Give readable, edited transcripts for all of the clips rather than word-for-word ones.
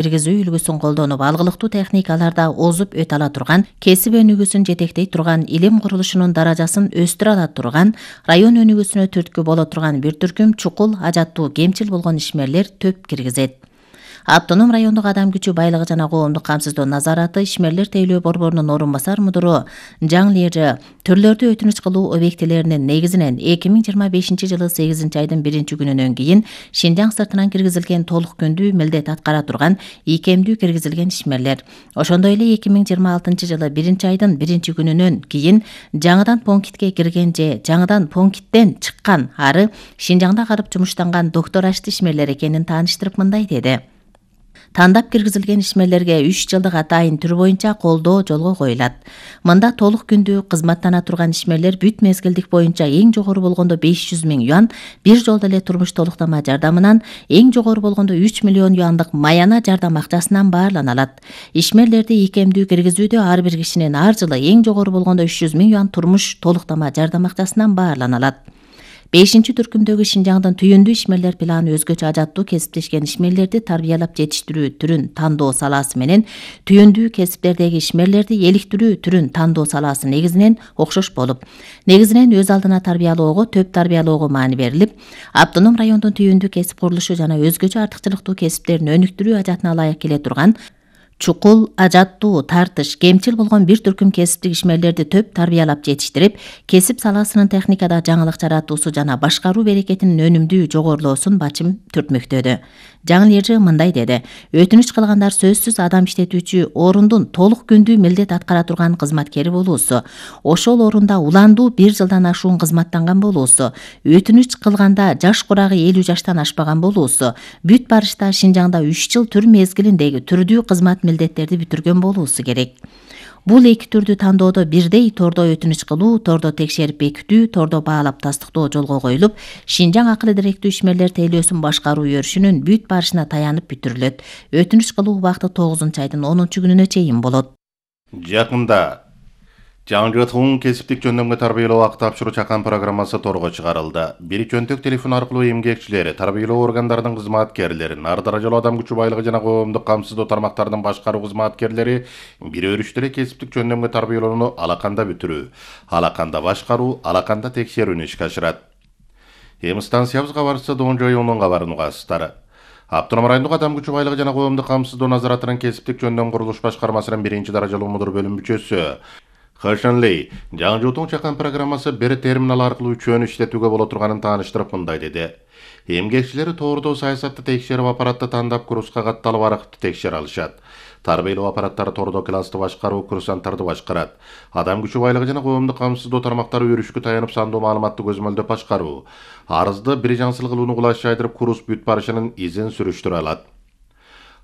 киргизүү үлгүсүн колдонуп, алгылыктуу техникаларда озуп өтө ала турган, кесип өнүгүүсүн жетектей турган, илим курулушунун даражасын өстүрө ала турган, район өнүгүүсүнө түрткү боло турган бир түркүм чукул, ажаттуу, кемчил болгон ишмерлер төп киргизет. Автоном райондук адам күчү байлыгы жана коомдук камсыздоо назараты ишмерлер тейлөө борборунун орун басар мудуру Жаң Лежи түрлөрдү өтүнүч кылуу объектилеринин негизинен 2025-жылы 8-айдын 1-күнүнөн кийин Шинжаң сыртынан киргизилген толук күндүү милдет аткара турган ийкемдүү киргизилген ишмерлер. Ошондой эле 2026-жылы 1-айдын 1-күнүнөн кийин жаңыдан пунктке кирген же жаңыдан пункттен чыккан ары Шинжаңда карып жумуштанган доктор ашты ишмерлер экенин тааныштырып мындай деди. Тандап киргизилген ишмерлерге 3 жылдык атайын түр боюнча колдоо жолго коюлат. Мында толук күндүү кызматтана турган ишмерлер бүт мезгилдик боюнча эң жогору болгондо 500 000 юан бир жолдо эле турмуш толуктама жардамынан, эң жогору болгондо 3 миллион юандык маяна жардам акчасынан баарлана алат. Ишмерлерди ийкемдүү киргизүүдө ар бир кишинин ар жылы эң жогору болгондо 300 000 юан турмуш толуктама жардам акчасынан баарлана алат. 5-түркүмдөгү Шинжаңдын түйүндүү ишмерлер планы өзгөчө ажаттуу кесиптешкен ишмерлерди тарбиялап жетиштирүү түрүн тандоо салаасы менен түйүндүү кесиптердеги ишмерлерди эликтирүү түрүн тандоо салаасы негизинен окшош болуп, негизинен өз алдына тарбиялоого, төп тарбиялоого маани берилип, автоном райондун түйүндүү кесип курулушу жана өзгөчө артыкчылыктуу кесиптерин өнүктүрүү ажатына ылайык келе турган чукул, ажаттуу, тартыш, кемчил болгон бир түркүм кесиптик ишмерлерди төп тарбиялап жетиштирип, кесип саласынын техникада жаңылык жаратуусу жана башкаруу берекетинин өнүмдүү жогорулоосун бачым түртмөктөдү. Жаң Лежи мындай деди. Өтүнүч кылгандар сөзсүз адам иштетүүчү орундун толук күндүү милдет аткара турган кызматкери болуусу, ошол орунда уландуу 1 жылдан ашуун кызматтанган болуусу, өтүнүч кылганда жаш курагы 50 жаштан ашпаган болуусу, бүт барышта Шинжаңда 3 жыл түр мезгилиндеги түрдүү кызмат милдеттерди бүтүргөн болуусу керек. Бул эки түрдү тандоодо бирдей тордо өтүнүч кылуу, тордо текшерип бекитүү, тордо баалап тастыктоо жолго коюлуп, Шинжаң акыл идиректүү ишмерлер тейлөөсүн башкаруу өрүшүнүн бүт барышына таянып бүтүрүлөт. Өтүнүч кылуу убакты 9-айдын 10-күнүнө чейин болот. Жакында жаңжытуун кесиптик жөндөмгө тарбиялоо акы тапшыруу чакан программасы торго чыгарылды. Бир жөнтөк телефон аркылуу эмгекчилер, тарбиялоо органдарынын кызматкерлери, ар даражалуу адам күчү байлыгы жана коомдук камсыздоо тармактарынын башкаруу кызматкерлери бир өрүштө эле кесиптик жөндөмгө тарбиялоону алаканда бүтүрүү, алаканда башкаруу, алаканда текшерүүнү ишке ашырат. Станциябыз кабарчысы Донжоюнун кабарын угасыздар. Автоном райондук адам күчү байлыгы жана коомдук камсыздоо назаратынын кесиптик жөндөм курулуш башкармасынын 1-даражалуу мудур бөлүм мүчөсү Хашанлей жаңжытуун чакан программасы бир терминал аркылуу үчөөнү иштетүүгө боло турганын тааныштырып мындай деди. Эмгекчилери тоордоо саясатты текшерип, аппаратты тандап, курска катталып аракты текшере алышат. Тарбиялоо аппараттары тордо классты башкаруу, курсанттарды башкарат. Адам күчү байлыгы жана коомдук камсыздоо тармактары өрүшкө таянып сандуу маалыматты көзөмөлдөп башкаруу, арызды бир жаңсыл кылууну кулаш жайдырып, курс бүт барышынын изин сүрүштүрө алат.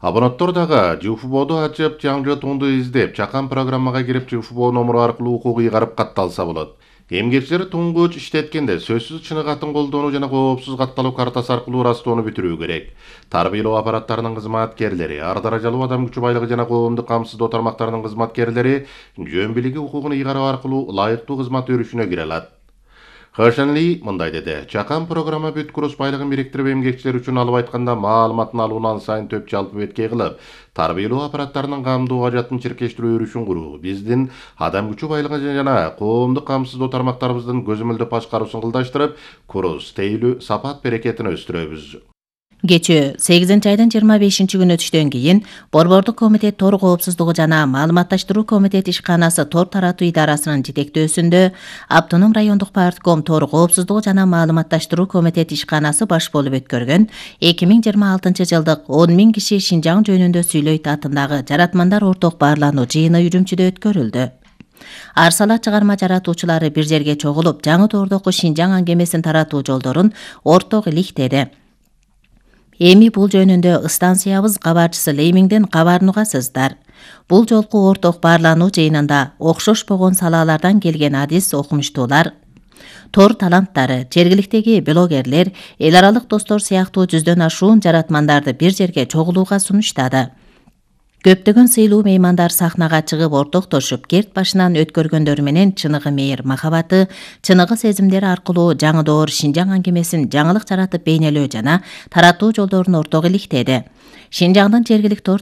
Абонаттар дагы ЖФБОду ачып, жаңжытуунду издеп, чакан программага кирип, ЖФБО номуру аркылуу укук ыйгарып катталса болот. Эмгекчилер туңгуч иштеткенде сөзсүз чыныгы атын колдонуу жана коопсуз катталуу картасы аркылуу ырастоону бүтүрүү керек. Тарбиялоо аппараттарынын кызматкерлери, ар даражалуу адам күчү байлыгы жана коомдук камсыздоо тармактарынын кызматкерлери жөн бийлиги укугун ыйгаруу аркылуу ылайыктуу кызмат өрүшүнө кире алат. Хашанли мындай деди. Чакан программа бүт курс байлыгын бириктирип, эмгекчилер үчүн алып айтканда маалыматын алууну ан сайын төп жалпы беткей кылып, тарбиялоо аппараттарынын камдоо ажатын чиркештирүү өрүшүн куруу, биздин адам күчү байлыгы жана коомдук камсыздоо тармактарыбыздын көзөмөлдөп башкаруусун кылдаштырып, курс, тейлүү, сапат берекетин өстүрөбүз. Кечээ 8-айдын 25-күнү түштөн кийин Борбордук комитет тор коопсуздугу жана маалыматташтыруу комитет ишканасы тор таратуу идарасынын жетектөөсүндө Автоном райондук партком тор коопсуздугу жана маалыматташтыруу комитет ишканасы баш болуп өткөргөн 2026-жылдык 10 000 киши Шинжаң жөнүндө сүйлөйт атындагы жаратмандар орток баарлануу жыйыны Үрүмчүдө өткөрүлдү. Арсала чыгарма жаратуучулары бир жерге чогулуп, жаңы тоордогу Шинжаң аңгемесин таратуу жолдорун орток иликтеди. Эми бул жөнүндө станциябыз кабарчысы Леймиңден кабарын угасыздар. Бул жолку орток баарлануу жыйынында окшош болгон салалардан келген адис окумуштуулар, тор таланттары, жергиликтеги блогерлер, эл аралык достор сыяктуу 100дөн ашуун жаратмандарды бир жерге чогулууга сунуштады. Көптөгөн сыйлуу меймандар сахнага чыгып ортоктошуп, керт башынан өткөргөндөр менен чыныгы мейир махабаты, чыныгы сезимдери аркылуу жаңы доор Шинжаң аңгемесин жаңылык жаратып бейнелөө жана таратуу жолдорун орток иликтеди. Шинжаңдын жергиликтүү